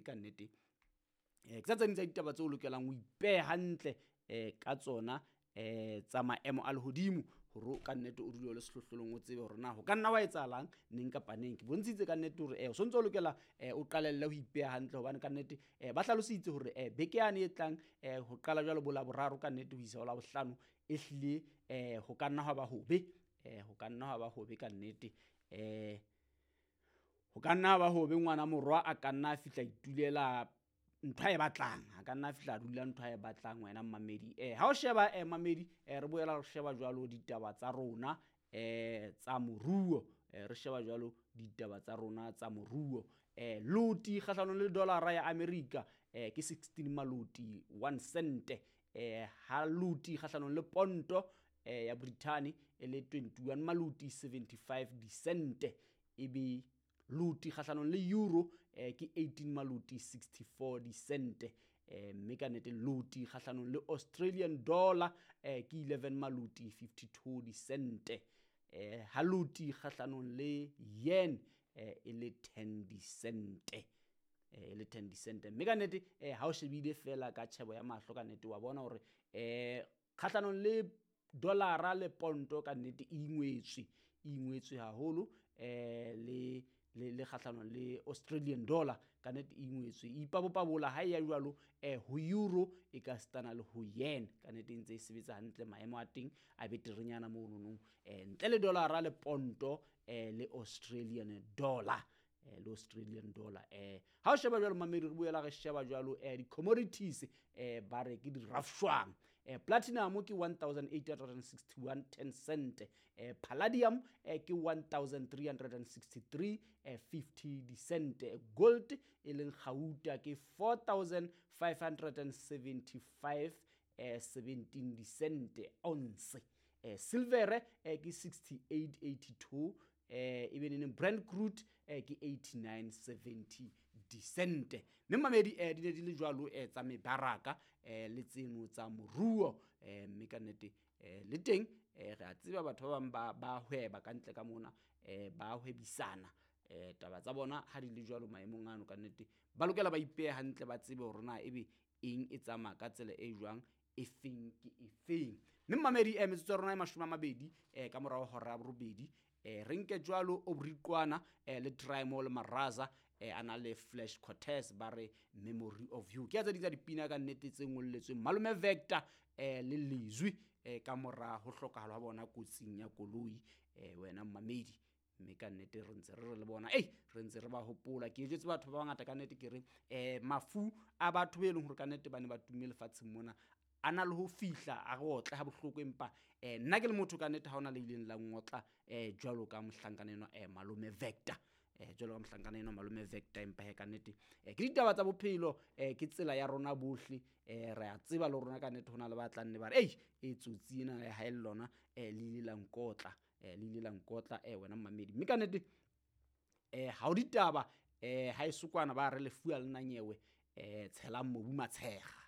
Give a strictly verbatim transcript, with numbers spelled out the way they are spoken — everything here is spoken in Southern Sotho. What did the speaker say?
Mme ka nnete eh ke tsa tse ding tsa ditaba tseo o lokelang ho ipeha hantle eh ka tsona eh tsa maemo a lehodimo hore ka nnete o dule o le sehlohlolong, o tsebe hore na ho ka nna wa etsahalang neng kapa neng. Ke bontshitse ka nnete hore eh o sontso o lokela eh o qalelle ho ipeha hantle, hobane ka nnete eh ba hlalositse hore eh beke yane e tlang eh ho qala jwalo bo Laboraro ka nnete ho isa ho Labohlano e hlile eh ho ka nna hwa ba hobe, eh ho ka nna hwa ba hobe ka nnete. Eh ho ka nna ba hobe ngwana morwa a ka nna a fihla itulela ntho ae batlang, a ka nna a fihla a dula ntho ae batlang wena mmamedi. Eh ha o sheba eh mamedi eh re boela re sheba jwalo ditaba tsa rona eh tsa moruo, eh re sheba jwalo ditaba tsa rona tsa moruo. Eh loti kgahlanong le dollar ya America eh ke sixteen maloti one cent, eh ha loti kgahlanong le ponto eh ya Britain e le twenty-one maloti seventy-five dicent, ebe loti kgahlanong le euro eh ke eighteen maloti sixty-four dicent, eh mme ka nnete loti kgahlanong le Australian dollar eh ke eleven maloti fifty-two dicent, eh ha loti kgahlanong le yen eh e le ten dicent, eh e le ten dicent. Mme ka nnete eh ha o shebile fela ka tjhebo ya mahlo ka nnete wa bona hore eh kgahlanong le dollara le ponto ka nnete e ingwetswe, e ingwetswe haholo eh le le le kgahlanong le Australian dollar ka nnete e ingwetswe, e ipabopabola ha e ya jwalo eh ho euro e ka stana le ho yen ka nnete e ntse e sebetsa hantle, maemo a teng a beterenyana monono eh ntle le dollara le ponto eh le Australian dollar, eh le Australian dollar. Eh ha o sheba jwalo mamedi, re boela re sheba jwalo eh di-commodities eh ba re ke di-rafshwang. Eh platinum ke one thousand eight hundred and sixty-one ten cent, eh palladium eh ke one thousand three hundred and sixty-three eh fifty cent, gold e leng kgauta ke four thousand five hundred and seventy-five eh seventeen cent ounce, eh silver eh ke sixty-eight eighty-two, eh ebe neng Brent crude eh ke eighty-nine seventy cent. Mme mamedi eh di ne di le jwalo eh tsa mebaraka eh le tseno tsa moruo, eh mme ka nnete eh le teng eh re a tseba batho ba bang ba ba hweba ka ntle ka mona, eh ba hwebisana eh taba tsa bona ha di le jwalo maemong ano ka nnete ba lokela ba ipehe hantle, ba tsebe hore na ebe eng e tsamaya ka tsela e jwang, e feng ke e feng. Mme mamedi eh metsotso ya rona e mashome a mabedi eh ka morao hora ya borobedi, eh re nke jwalo Obriqwana eh le Trimo le Maraza eh a na le Flash Cortez ba re Memory of You. Ke a tse ding tsa dipina ka nnete tse ngolletsweng Malome Vector eh le Lizwi eh ka mora ho hlokahala ha bona kotsing ya koloi eh wena mmamedi. Mme ka nnete re ntse re re le bona, ei re ntse re ba hopola. Ke jwetse batho ba bangata ka nnete ke re eh mafu a batho be leng hore ka nnete ba ne ba tumme lefatsheng mona a na le ho fihla a re otle ha bohloko, empa eh nna ke le motho ka nnete ha hona le ileng la ngotla eh jwalo ka mohlankana enwa eh Malome Vector, eh jwalo ka mohlankana enwa Malome Vector. Empa he ka nnete eh ke ditaba tsa bophelo, eh ke tsela ya rona bohle, eh re a tseba le rona ka nnete hona le ba tlang ne ba re ei e tsotsi ena ha e le lona eh le ile la nkotla, eh le ile la nkotla eh wena mmamedi. Mme ka nnete eh ha o ditaba eh ha e sokwana ba re lefuwa le nanyewe eh tshelang mobu matshega.